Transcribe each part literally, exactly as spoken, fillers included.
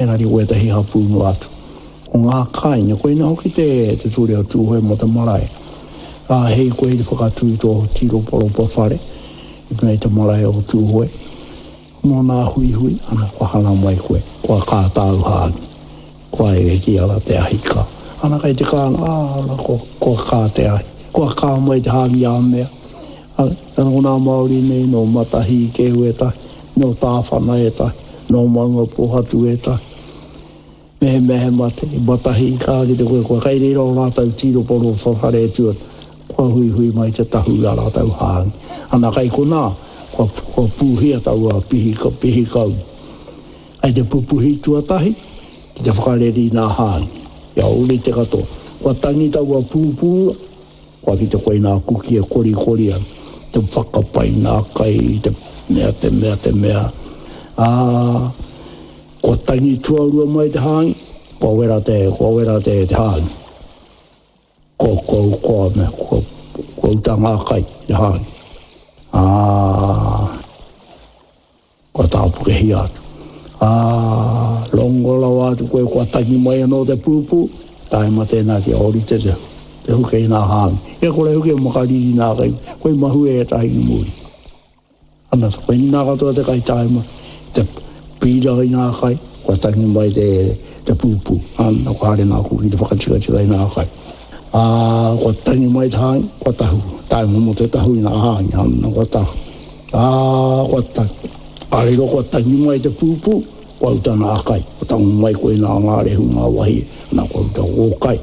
Engari wētahi hapū noa atu. Ko ngā kāinga, koina hoki te, te ture o Tūhoe mō te marae. Ka hei koe i te whakatū i tō tīroparopa whare, i runga i te marae o Tūhoe. Mō nā huihui, ana, kua hara mai koe, kua kā tāu hāngi, kua ere ki ara te ahi kā. Ana kai te kānga, ā, ana, kua, kua kā te ahi, kua kā mai te hāngi a mea. Ana, ko nā Māori nei, nō Matahī kē wētahi, nō Tāwhana ētahi, nō Maungapōhatu ētahi. Mehemea he mate, i Matahī kā ki te koe, kua kai reira o rātou tīroparopa whare e tū ana, kua huihui mai te tahu i a rātou hāngi. Ana kai konā, kua, kua pūhia taua pihi, pihi kau. Kai te pupuhi tuatahi, ki te whakareri nā hāngi. Ia ori te katoa. Kua tangi taua pūpūra, kua ki te koe nā kuki e korikori ana, te whakapai nā kai, te mea, te mea, te mea. Ā, kua tangi tuarua mai te hāngi, kua wera te, kua wera te, te hāngi. Kua, kua, kua, mea, kua, kua uta ngā kai, te hāngi. Ā, kua tāpukehia atu. Ā, rongo rawa atu koe, kua tangi mai anō te pūpū, tae ma tēnā kia ōrite te, te huke i nā hāngi. E kore huke makariri nā kai, koe mahue e tahi ki muri. Ana, koe nā katoa te kai taima, te pīra i nā kai, kua tangi mai te, te pūpū. Ana, kua haere nā kuki te whakatikatika i nā kai. Ā, kua tangi mai te hāngi, kua tahu. Taima mō te tahu i nā hāngi, ana, kua tahu. Ā, kua tangi. A riro kua tangi mai te pūpū, kua uta nā kai. Kua tango mai koe nā ngā rehu ngā wahi, ana kua uta o kai.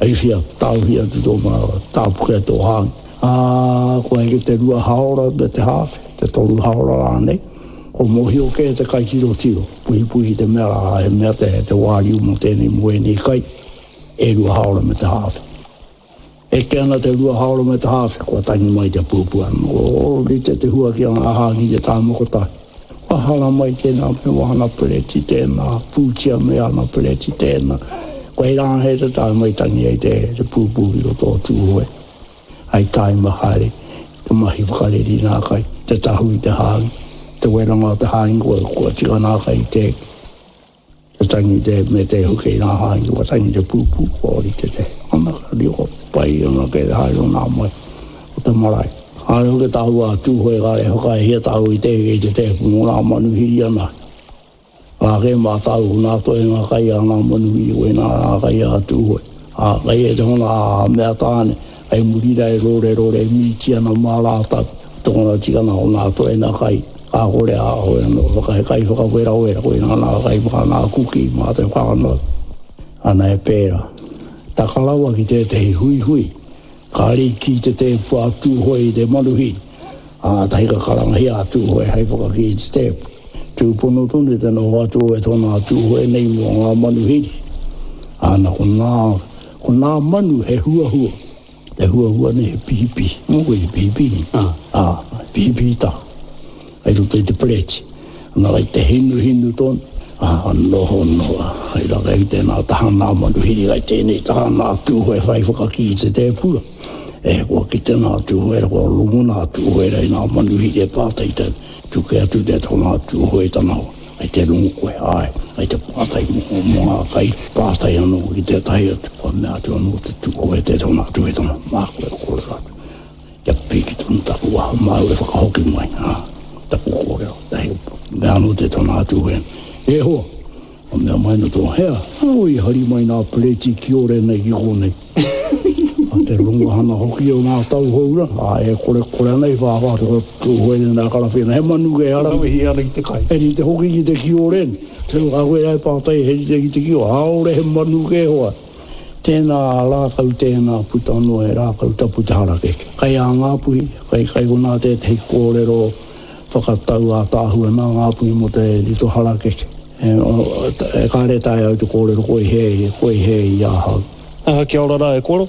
Ai whia, tāuhi atu tō mā, tāpuke tō hāngi. Ā, kua eke te rua haora me te hāwhe, te toru haora rānei. Ko mōhio kē te kai tiro tiro, puhipuhi te mea rā, he mea te, te wāriu mō tēnei mō ēnei kai, e rua haora me te hāwhe. Eke ana te rua haora me te hāwhe, kua tangi mai te pūpū anō. O, rite te hua ki a ngā hāngi te tāmoko tahi. Kua hara mai tēnā me wāna pereti tēnā, pūtia me ana pereti tēnā. Kua hei rāngai te tae mai tangi ai te, te pūpū ki roto o Tūhoe. Ai taima haere, te mahi whakareri nā kai, te tahu i te hāngi, te weranga o te hāngi, kua, kua tika nā kai te, te tangi te, me te huke i nā hāngi, kua tangi te pūpū, kua ori te te, ana ka riko pai ana ke te haere o nā mai, o te marae. Kāre hoki tāu a Tūhoe, kāre whakaehia tāu i te, i te tēpu mō nā manuhiri ana. Rā ke mā tāu, nā toe ngā kai a ngā manuhiri, koe nā ngā kai a Tūhoe. Ā, kai e te hona a mea tāne, kai muri rā e rore rore mīti ana mā rātau. Tōna tikanga o nā toe nā kai, kā kore a hoi anō, whakahe kai whakawera wera, koe nā nā kai mā nā kuki mā te whānau. Ana e pērā. Taka rawa ki tētehi huihui, kāre i kī te tēpu a Tūhoe i te manuhiri. Ā, tahi ka karangahia a Tūhoe hei whakakī i te tēpu. Tūpono tonu te noho atu o e tōna Tūhoe nei mō ngā manuhiri. Ana, ko nā, ko nā manu he huahua. Te huahua nei he pihipihi. Mō koe te pihipihi. Ah. Ā, pihipihi tahu. Hei roto i te pereti. Ana kai te hinu hinu tonu. Ā, noho noa. Hei rā kai tēnā taha nā manuhiri, kai tēnei taha nā Tūhoe whai whakakī i te tēpura. E, kua kite nā Tūhoe, kua rongo nā Tūhoe rei nā manuhiri e pātai te tuke atu te tōnā Tūhoe tana hoa. Ai te rongo koe, ai, ai te pātai mō, mō ngā kai, pātai anō ki tētahi atu, kua mea atu anō te Tūhoe te tōnā Tūhoe tana, mā koe kōrero atu. Kia piki tonu taku waha māu e whakahoki mai, ha, taku kōrero, tahi, mea anō te tōnā Tūhoe. E hoa, o mea mai no tō hea, o i hari mai nā pereti ki ore nei ki kōnei. A te rongo hana hoki o ngā tauhou rā, a e kore kore ana i whāwhā te Tūhoe nei nā karawhena, he manu kei ara. Wehi ana i te kai. He rite hoki ki te kiore nei. Te wā koe ai pātai he rite ki te kiore, aore he manu kei hoa. Tēnā rākau, tēnā puta noa he rākau tapu te harakeke. Kai a Ngāpuhi, kai kai konā tētehi kōrero whakatau ātaahua nā Ngāpuhi mō te rito harakeke. E, e kāre tae au te kōrero koe he, koe he i ahau. Aha, kia ora rā e koro.